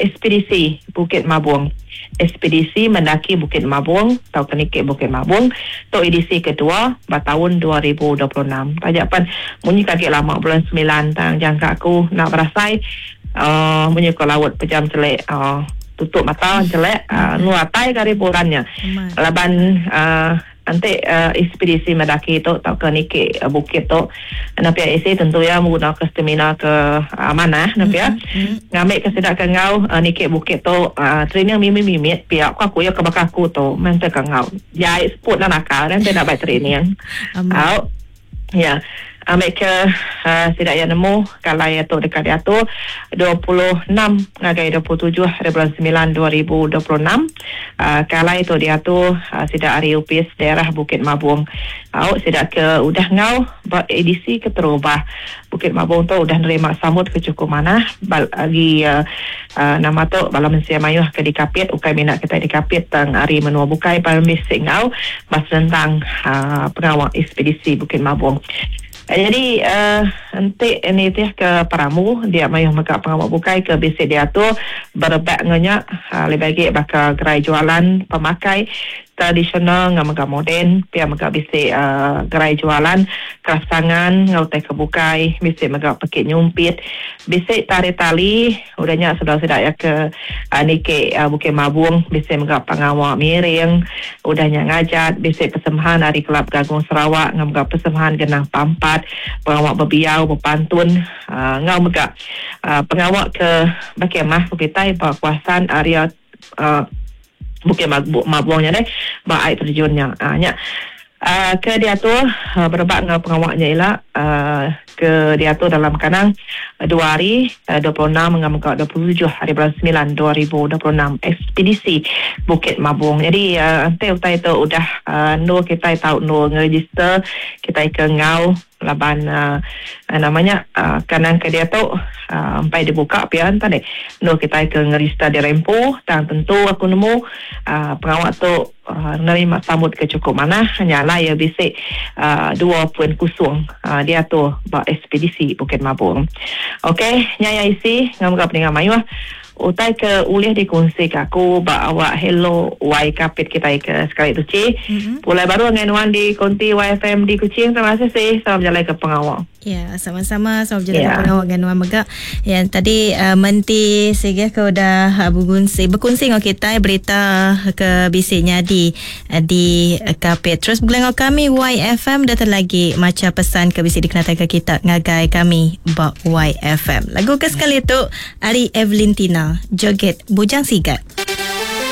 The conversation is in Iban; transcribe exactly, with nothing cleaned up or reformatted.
Ekspedisi Bukit Mabong. Ekspedisi Mendaki Bukit Mabong tauka niki Bukit Mabong tu edisi kedua ba taun dua ribu dua puluh enam. Taja pan munyi ke agi lama bulan semilan tang jangka aku enda berasai uh, munyi ko laut pejam celik uh, tutup mata celik uh, nu atai ke hari bulan nya. Laban uh, nanti uh, ekspedisi mendaki tu tauka niki uh, bukit tu napi isi tentu ya menggunakan stamina ke uh, amanah napi ya mm-hmm. Ngambil ke sidak ke ngau uh, niki bukit tu uh, training mimit-mimit pihak aku aku ya ke bakal aku tu mental ke ngau jai seput dan nakal nanti nak baik training au ya ambil ke uh, sidak yang nemu kalau ya tu dekat diatur dua puluh enam ngagai dua puluh tujuh hari bulan sembilan dua ribu dua puluh enam uh, kalau itu diatur uh, sidak hari upis daerah Bukit Mabong. Au sidak ke udah ngau ba edisi keterubah Bukit Mabong tu udah nerima sambut ke cukup manah bagi uh, uh, nama tu bala mensia mayuh ke dikapit ukai minat kita dikapit tang hari menua bukai parmisik ngau bas tentang uh, pengawal ekspedisi Bukit Mabong. Jadi uh, nanti ini teh ke Paramu dia mayuh mega pengawal bukai ke bisik diatur berebak ngenya uh, lebih lagi bakal gerai jualan pemakai tradisional ngah mega moden pia mega bisik uh, gerai jualan kraftangan ngau teh kebukai bisik mega pekit nyumpit bisik tarik tali udahnya sudah-sudah ya ke uh, niki uh, Bukit Mabung bisik mega pengawal miring udahnya ngajat bisik persembahan dari Kelab Gagung Sarawak ngah mega persembahan genang pampat pengawal berbiau berpantun uh, ngau mega uh, pengawal ke Bukit Mah Bukit Tai kawasan area uh, Bukit Mabungnya deh, ba air terjunnya. Ah nya. Uh, ke diatur uh, berebak dengan pengawaknya ialah uh, ke diatur dalam kanang uh, dua hari uh, dua puluh enam dengan dua puluh tujuh hari bulan sembilan dua ribu dua puluh enam ekspedisi Bukit Mabong. Jadi uh, nanti utai tu udah uh, nur kita tahu nur ngeregister kita ke ngau laban uh, namanya uh, kanang ke dia tu uh, sampai dibuka pian tadi nur kita ke ngeregister di rempo dan tentu aku nemu uh, pengawak tu uh, nerima sambut ke cukup mana nyala ya bisik uh, dua poin kosong uh, dia tu ba ekspedisi Bukit Mabong. Okey, nyaya isi ngam gap dengan mayuh utai ke ulih dikongsi ke aku ba awak hello Y Kapit kita ke sekali tu ci. Mm-hmm. Pulai baru dengan Wan di konti Y F M di Kuching. Terima kasih sih. Salam jalan ke pengawal. Ya, sama-sama salam jalan ya. Ke pengawal dengan Wan mega. Yang tadi uh, menti sehingga ke udah uh, berkongsi berkongsi dengan kita berita ke bisiknya di uh, di Kapit. Terus bergelang kami Y F M datang lagi macam pesan ke bisik dikenalkan ke kita ngagai kami ba Y F M. Lagu ke sekali tu Ari Evelyn Tina Joget Bujang Sigat.